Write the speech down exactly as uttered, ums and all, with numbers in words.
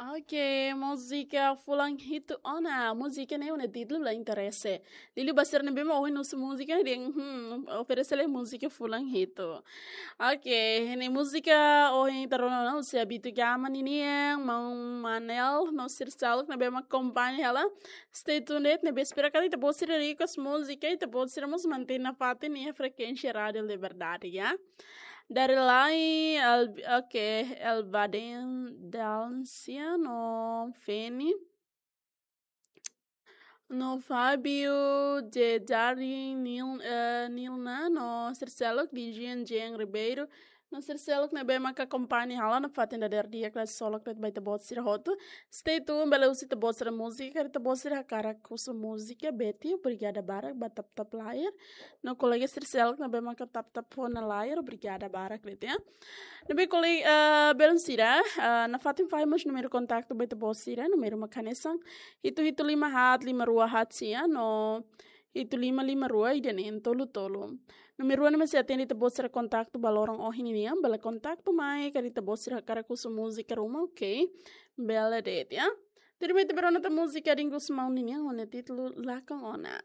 Oke, múzika Fulan Hitu Ona. Múzika ne'e nia títulu la interese. Liuliu ba sira ne'ebé mak ohin husu múzika ne'e dehan, hmm, oferese lai múzika Fulan Hitu. Oke, ne'e múzika ohin ita rona ona husi Abitu Gama ninian, Maun Manel, no sira seluk ne'ebé mak akompaña hela. Stay tuned, ne'ebé espera katak ita-boot sira request múzika, ita-boot sira mós mantein nafatin nia frekuénsia Rádiu Liberdade, ya. Dari lai, El, oke, Elbaden Dalcia no Feni. No Fábio, Jejari, Nil, eh, Nilna, no sira seluk di Jean Jean Ribeiro, no sira seluk ne'ebé maka akompaña hela nafatin dadeer di'ak, la solok tet ba ita-boot sira hotu. Stay tuned, bele husu ita-boot sira múzika, karik ita-boot sira hakarak husu múzika, Betty, obrigada barak ba tap-tap layar. No kolega sira seluk ne'ebé maka tap-tap fó ona layar, obrigada barak de'it, ya. Ne'ebé kolega, eh, belun sira, eh, nafatin fahe mós númeru kontaktu ba ita-boot sira, númeru mak hanesan hitu hitu lima haat lima rua haat sia, no hitu lima lima rua ida neen tolu tolu. Númeru ne'e mós sei atende ita-boot sira kontaktu ba loron ohin nian, bele kontaktu mai, karik ita-boot sira hakarak husu múzika ruma, oke. Bele de'it, ya. Tuirmai ita bá rona tan múzika Domingos Maun ninian, ho nia títulu Lakon Ona.